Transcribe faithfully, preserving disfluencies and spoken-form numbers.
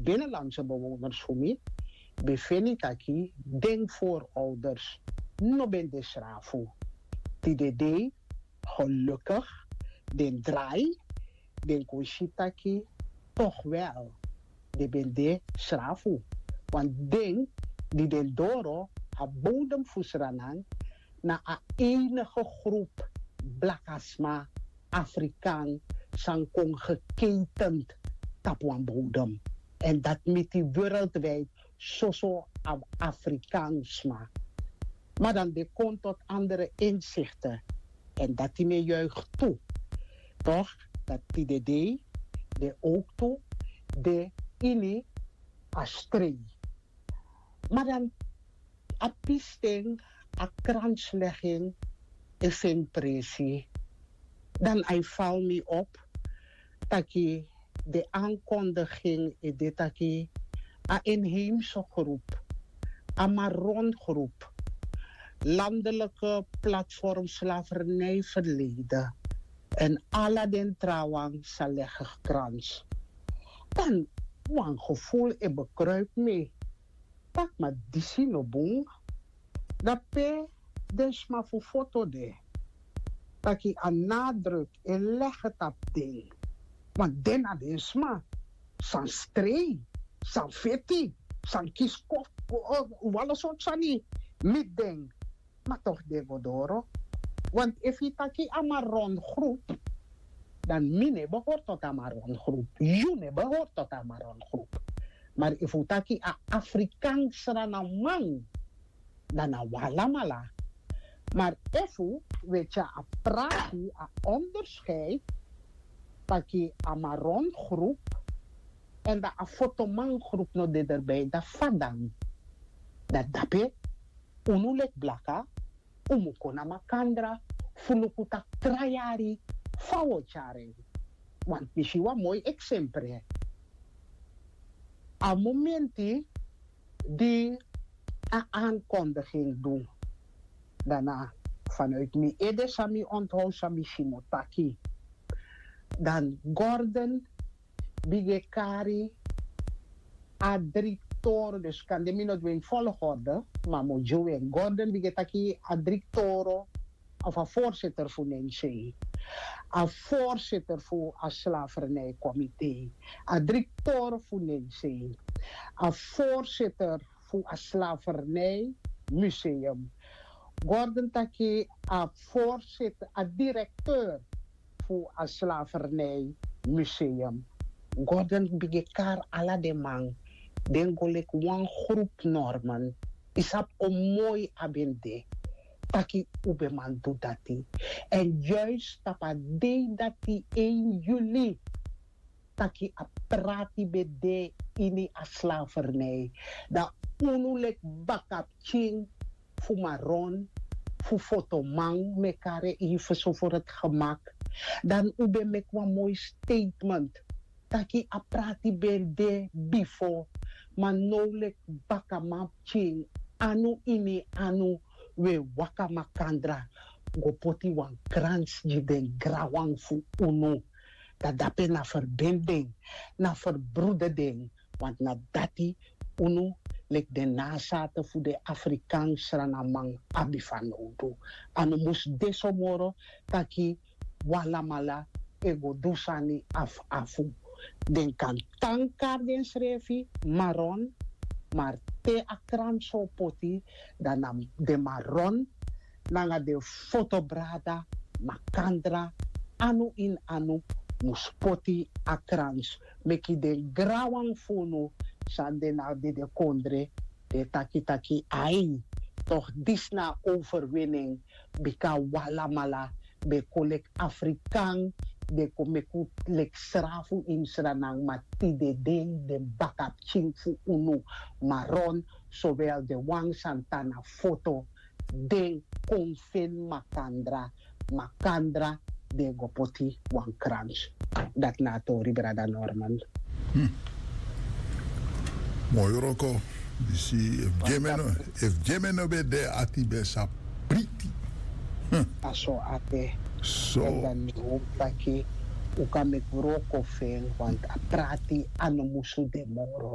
binnenlandse bewoners fu mi ben feni taki den voorouders no ben de srafu. Tide dei, gelukkig, den drai, den kon si taki toch wel den ben de srafu. Want den di den doro a bodem fu Sranan, na a enige groep blakasma, Afrikaan, san kon geketend tapu wan bodem. En dat miti wereldwijd soso a Afrikaansma. Maar dan de kon tot andere inzichten. En dat die me juicht toe. Toch, dat die de dei, de ook toe, de ini a strei. Maar dan a pisting, a kranslegging is in presi. Dan hij val me op taki de aankondiging e de taki a inheemse groep, a Maron groep, landelijke platform slavernijverleden en ala den trawan sa leggen krans. Dan wan gevoel e bekruip me. Tak ma disi no bun. Dan pe den sma fu foto de, taki a nadruk e lege tapu den. Want den na den sma san strei, san feti, san kisi kofu, wala sortu sani miti den. Ma toch den go doro. Want efu yu taki a Maron groep, dan mi no e behori tot a Maron groep, yu no e behori tot a Maron groep. Maar efu un taki a Afrikaans Sranan man, dan na un alamala. Maar efu un e tyari a prati, a onderscheid taki a Maron groep en dan a fotoman groep no de erbij, dan fa dan? Dan dape unu leki blaka un mu kon na makandra fu luku taki tra yari fa un o tyari en. Want mi si wan moi eksempre. A momenti di a aankondiging du, dan na vanuit mi ede san mi onthoud, san mi si mi o taki. Dan Gordon bigin e kari a dri toro, dus kande mi no du en volgorde, ma mi o gi un en. Gordon bigin e taki a dri toro of a voorzitter fu Nensei, a voorzitter fu a slavernijcomité, a dri toro fu Nensei, a voorzitter fu a slavernijmuseum. Gordon taki a voorzitter, a directeur fu a slavernijmuseum. Gordon bigin e kari ala den man, den go leki wan groep normen. Yu sabi o moi a ben de taki un ben man du dati. En juist tapu a dei dati, één juli, taki a prati ben de ini a slavernij. Dan unu leki bakapikin fu Maron, fu fotoman, mi e kari en even so voor het gemak. Dan un ben meki wan moi statement taki a prati ben de bifo, ma now leki bakamanpikin, anu ini anu, un e waka makandra go poti wan krans gi den granwan fu unu. Dan dape na verbinding, na verbroedering, want na dati unu leki den nazaten fu den Afrikaans Sranan man abi fanowdu. A no mus de so moro taki un alamala e go du sani afu afu. Den kan tan kari densrefi Maron, ma te a krans o poti, dan na den Maron nanga den fotobrada makandra, anu ini anu, mus poti a krans, meki den granwan fu unu san de na den de kondre, den taki taki ai, toch disi na overwinning. Bika un alamala ben kon leki Afrikan, den kon meki un leki srafu ini Sranan, ma tide dei den bakapikin fu unu Maron, sowel den wan san tan na foto, den kon feni makandra, makandra den go poti wan krans. Dati na a tori, brada Norman. Moi wroko. Yu si, efu Gemeno, efu Gemeno ben de, ati ben sa priti. A so ati. So. Dan mi hopi taki un kan meki wroko fu en, want a prati a no musu de moro.